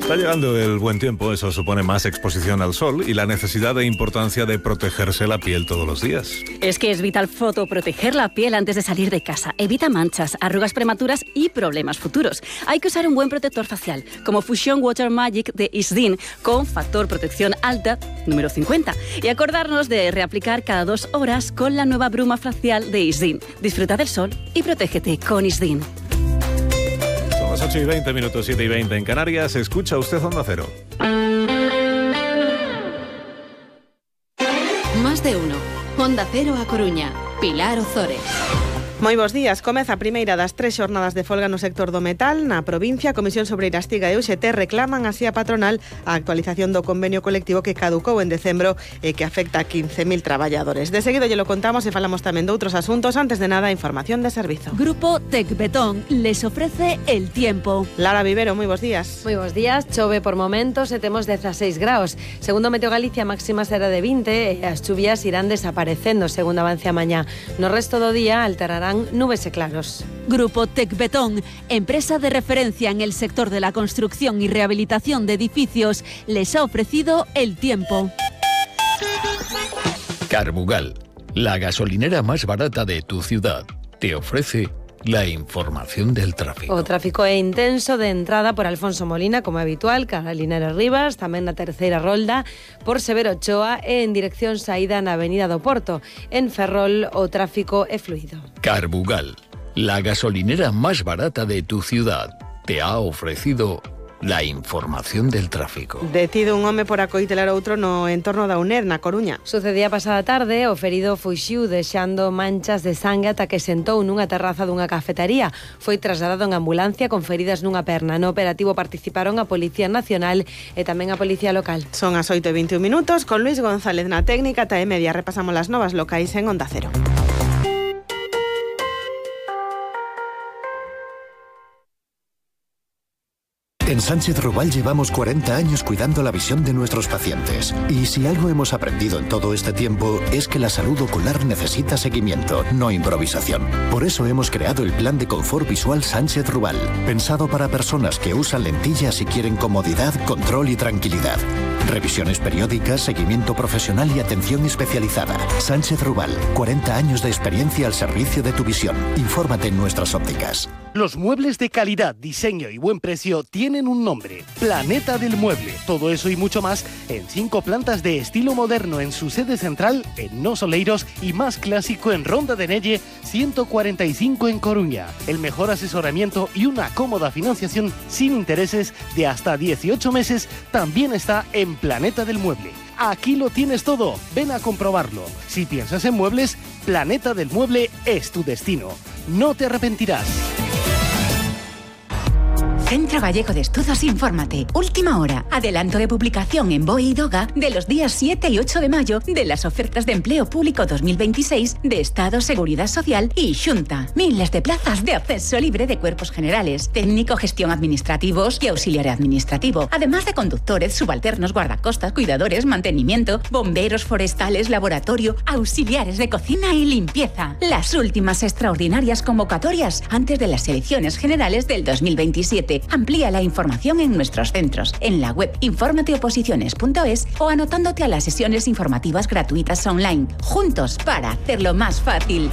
Está llegando el buen tiempo, eso supone más exposición al sol y la necesidad e importancia de protegerse la piel todos los días. Es que es vital fotoproteger la piel antes de salir de casa. Evita manchas, arrugas prematuras y problemas futuros. Hay que usar un buen protector facial, como Fusion Water Magic de Isdin, con factor protección alta número 50. Y acordarnos de reaplicar cada 2 horas con la nueva bruma facial de Isdin. Disfruta del sol y protégete con Isdin. 8:20, 7:20 en Canarias. Escucha usted Onda Cero. Más de uno. Onda Cero a Coruña. Pilar Ozores. Moi bons días. Comeza a primeira das 3 xornadas de folga no sector do metal. Na provincia, a Comisión Sobreira Estiga e UGT reclaman así a patronal a actualización do convenio colectivo que caducou en decembro e que afecta a 15.000 traballadores. De seguido lle lo contamos e falamos tamén de outros asuntos. Antes de nada, información de servizo. Grupo Tecbetón les ofrece el tiempo. Lara Vivero, moi bons días. Moi bons días. Chove por momentos e temos 16 graus. Segundo Meteo Galicia, a máxima será de 20 e as chuvias irán desaparecendo segundo avance a mañá. No resto do día alterarán nubes e claros. Grupo Tecbetón, empresa de referencia en el sector de la construcción y rehabilitación de edificios, les ha ofrecido el tiempo. Carbugal, la gasolinera más barata de tu ciudad, te ofrece la información del tráfico. O tráfico é intenso de entrada por Alfonso Molina, como é habitual, cara a Linares Rivas, tamén na terceira rolda, por Severo Ochoa e en dirección saída na Avenida do Porto. En Ferrol o tráfico é fluido. Carbugal, la gasolinera más barata de tu ciudad, te ha ofrecido la información del tráfico. Detido un home por acoitelar outro no entorno da UNED, na Coruña. Sucedía pasada tarde, o ferido fuxiu deixando manchas de sangue ata que sentou nunha terraza dunha cafetería. Foi trasladado en ambulancia con feridas nunha perna. No operativo participaron a Policía Nacional e tamén a Policía Local. Son as 8:21, con Luis González na técnica. Ata e media repasamos as novas locais en Onda Cero. En Sánchez Ruval llevamos 40 años cuidando la visión de nuestros pacientes. Y si algo hemos aprendido en todo este tiempo es que la salud ocular necesita seguimiento, no improvisación. Por eso hemos creado el Plan de Confort Visual Sánchez Ruval, pensado para personas que usan lentillas y quieren comodidad, control y tranquilidad. Revisiones periódicas, seguimiento profesional y atención especializada. Sánchez Ruval, 40 años de experiencia al servicio de tu visión. Infórmate en nuestras ópticas. Los muebles de calidad, diseño y buen precio tienen un nombre: Planeta del Mueble. Todo eso y mucho más en 5 plantas de estilo moderno en su sede central en Nos Oleiros y más clásico en Ronda de Nelle 145 en Coruña. El mejor asesoramiento y una cómoda financiación sin intereses de hasta 18 meses también está en Planeta del Mueble. Aquí lo tienes todo, ven a comprobarlo. Si piensas en muebles, Planeta del Mueble es tu destino. No te arrepentirás. Centro Gallego de Estudos Infórmate. Última hora. Adelanto de publicación en BOE y DOGA de los días 7 y 8 de mayo de las ofertas de empleo público 2026 de Estado, Seguridad Social y Xunta. Miles de plazas de acceso libre de cuerpos generales, técnico, gestión administrativos y auxiliar administrativo, además de conductores, subalternos, guardacostas, cuidadores, mantenimiento, bomberos forestales, laboratorio, auxiliares de cocina y limpieza. Las últimas extraordinarias convocatorias antes de las elecciones generales del 2027. Amplía la información en nuestros centros, en la web informateoposiciones.es o anotándote a las sesiones informativas gratuitas online. Juntos para hacerlo más fácil.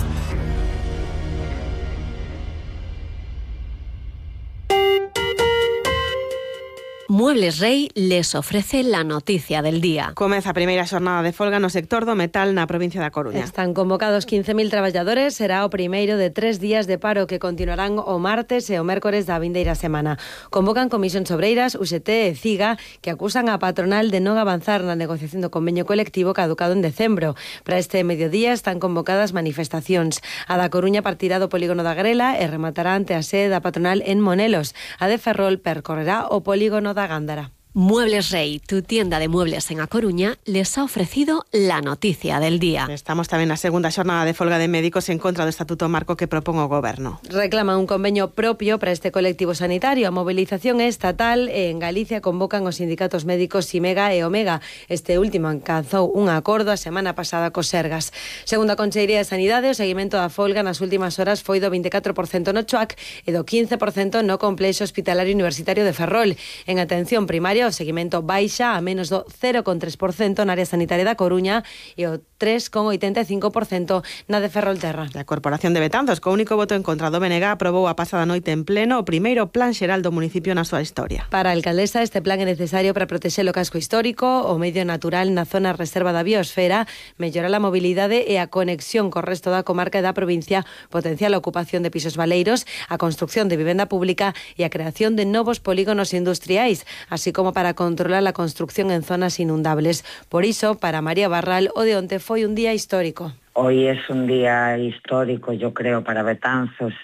Muebles Rey les ofrece la noticia del día. Comeza a primeira xornada de folga no sector do metal na provincia da Coruña. Están convocados 15.000 traballadores, será o primeiro de 3 días de paro que continuarán o martes e o mércores da vindeira semana. Convocan Comisión Sobreiras, UGT e CIGA, que acusan a patronal de non avanzar na negociación do convenio colectivo caducado en decembro. Para este mediodía están convocadas manifestacións. A da Coruña partirá do polígono da Grela e rematará ante a sede da patronal en Monelos. A de Ferrol percorrerá o polígono da Gándara. Muebles Rey, tu tienda de muebles en A Coruña, les ha ofrecido la noticia del día. Estamos tamén na segunda xornada de folga de médicos en contra do Estatuto Marco que propón o Goberno. Reclaman un convenio propio para este colectivo sanitario. A mobilización é estatal e en Galicia convocan os sindicatos médicos Simega e Omega. Este último alcanzou un acordo a semana pasada cos Sergas. Segundo a Consellería de Sanidade, o seguimento da folga nas últimas horas foi do 24% no CHUAC e do 15% no Complexo Hospitalario Universitario de Ferrol. En atención primaria, o seguimento baixa a menos do 0,3% na área sanitaria da Coruña e o 3,85% na de Ferrolterra. A Corporación de Betanzos, co único voto en contra do BNG, aprobou a pasada noite en pleno o primeiro plan xeral do municipio na súa historia. Para a alcaldesa, este plan é necesario para protexer o casco histórico, o medio natural na zona reserva da biosfera, mellorar a mobilidade e a conexión co resto da comarca e da provincia, potenciar a ocupación de pisos baleiros, a construcción de vivenda pública e a creación de novos polígonos industriais, así como para controlar a construcción en zonas inundables. Por iso, para María Barral, o de onte foi un día histórico. Hoy es un día histórico, yo creo, para Betanzos,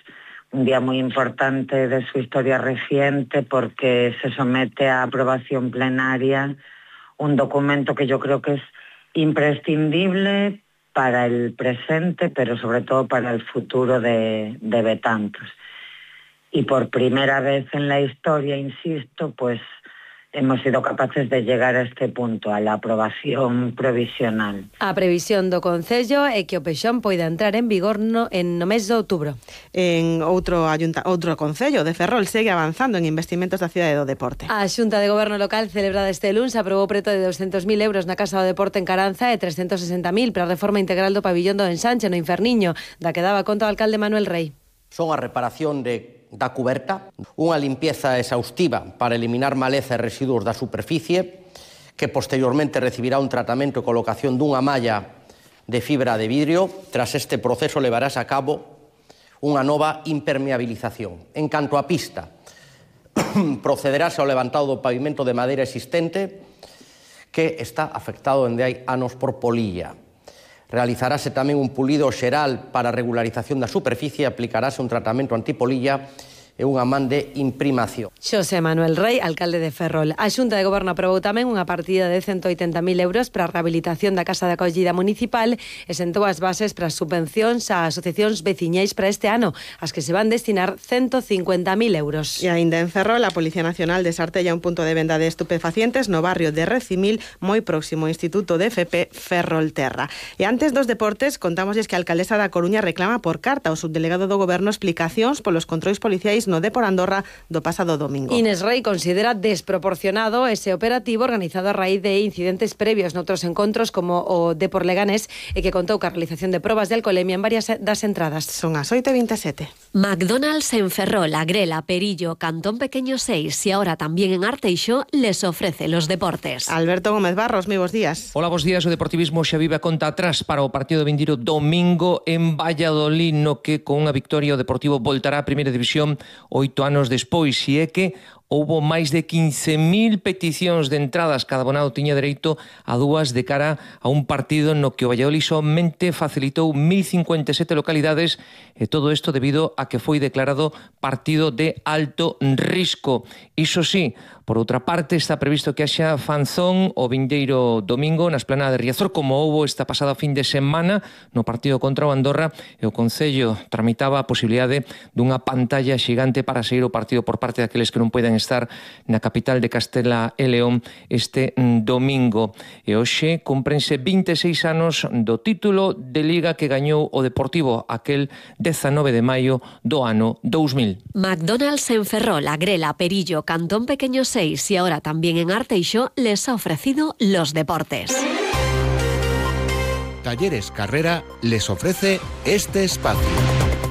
un día muy importante de su historia reciente porque se somete a aprobación plenaria un documento que yo creo que es imprescindible para el presente, pero sobre todo para el futuro de Betanzos. Y por primera vez en la historia, insisto, pues hemos sido capaces de llegar a este punto, a la aprobación provisional. A previsión do Concello é que o Pexón poida entrar en vigor no mes de outubro. En outro Concello de Ferrol segue avanzando en investimentos da cidade do deporte. A Xunta de Goberno Local celebrada este luns aprobou preto de 200.000 euros na Casa do Deporte en Caranza e 360.000 para a reforma integral do pabillón do Ensanche no Inferniño, da que daba conta o alcalde Manuel Rey. Son a reparación da cuberta, unha limpieza exhaustiva para eliminar maleza e residuos da superficie, que posteriormente recibirá un tratamento e colocación dunha malla de fibra de vidrio. Tras este proceso levarás a cabo unha nova impermeabilización. En canto á pista, procederase ao levantado do pavimento de madeira existente que está afectado dende hai anos por polilla. Realizarase tamén un pulido xeral para a regularización da superficie e aplicarase un tratamento antipolilla e unha man de imprimación. Xosé Manuel Rey, alcalde de Ferrol. A Xunta de Goberno aprobou tamén unha partida de 180.000 euros para a rehabilitación da Casa de Acollida Municipal e sentou as bases para as subvencións a asociacións veciñais para este ano, as que se van destinar 150.000 euros. E aínda en Ferrol, a Policía Nacional desartella un punto de venda de estupefacientes no barrio de Recimil, moi próximo ao Instituto de FP Ferrolterra. E antes dos deportes, contámosles que a alcaldesa da Coruña reclama por carta ao subdelegado do Goberno explicacións polos controis policiais no Depor Andorra do pasado domingo. Inés Rey considera desproporcionado ese operativo organizado a raíz de incidentes previos noutros encontros como o Depor Leganés e que contou ca realización de probas de alcoholemia en varias das entradas. Son as 8:27. McDonald's en Ferrol, Agrela, Perillo, Cantón Pequeño 6 y ahora también en Arteixo les ofrece los deportes. Alberto Gómez Barros, moi bos días. Hola, bos días. O deportivismo xa vive a conta atrás para o partido de vindeiro domingo en Valladolid, no que con unha victoria o Deportivo voltará a Primeira División 8 anos despois, e é que houbo máis de 15.000 peticións de entradas, cada abonado tiña dereito a dúas de cara a un partido no que o Valladolid somente facilitou 1.057 localidades, e todo isto debido a que foi declarado partido de alto risco. Iso sí, por outra parte, está previsto que haxa fanzón o vindeiro domingo na esplanada de Riazor, como houbo esta pasada fin de semana no partido contra o Andorra, e o Concello tramitaba a posibilidade dunha pantalla xigante para seguir o partido por parte daqueles que non poden estar na capital de Castela e León este domingo. E hoxe cumprense 26 anos do título de Liga que gañou o Deportivo aquel 19 de maio do ano 2000. McDonald's en Ferrol, Agrela, Perillo, Cantón Pequeño 6 y ahora también en Arteixo les ha ofrecido los deportes. Talleres Carrera les ofrece este espacio.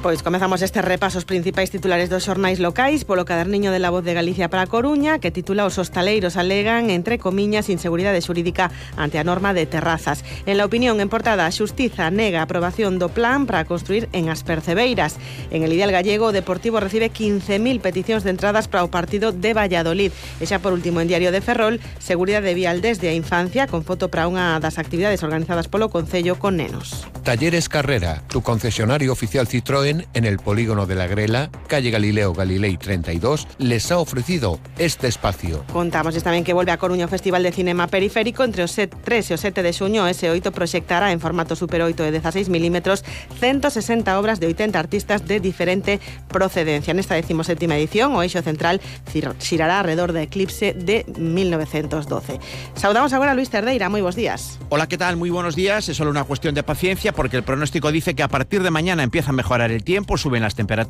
Pois comezamos este repaso os principais titulares dos xornais locais polo caderniño de La Voz de Galicia para a Coruña, que titula Os hostaleiros alegan, entre comiñas, inseguridade xurídica ante a norma de terrazas. En La Opinión, en portada, a Xustiza nega a aprobación do plan para construir en As Percebeiras. En El Ideal Gallego, o Deportivo recibe 15.000 peticións de entradas para o partido de Valladolid. E xa por último, en Diario de Ferrol, seguridade vial desde a infancia, con foto para unha das actividades organizadas polo Concello con nenos. Talleres Carrera, tu concesionario oficial Citroën También en el polígono de la Grela, calle Galileo Galilei 32, les ha ofrecido este espacio. Contamos tamén que volve a Coruña o Festival de Cinema Periférico. Entre o 3 e o 7 de xuño, ese 8 proxectará en formato Super 8 de 16 milímetros 160 obras de 80 artistas de diferente procedencia. Nesta 17ª edición, o eixo central xirará alrededor da Eclipse de 1912. Saudamos agora a Luis Cerdeira. Moi bons días. Hola, ¿qué tal? Muy buenos días. Es solo una cuestión de paciencia porque el pronóstico dice que a partir de mañana empieza a mejorar el tiempo, suben las temperaturas.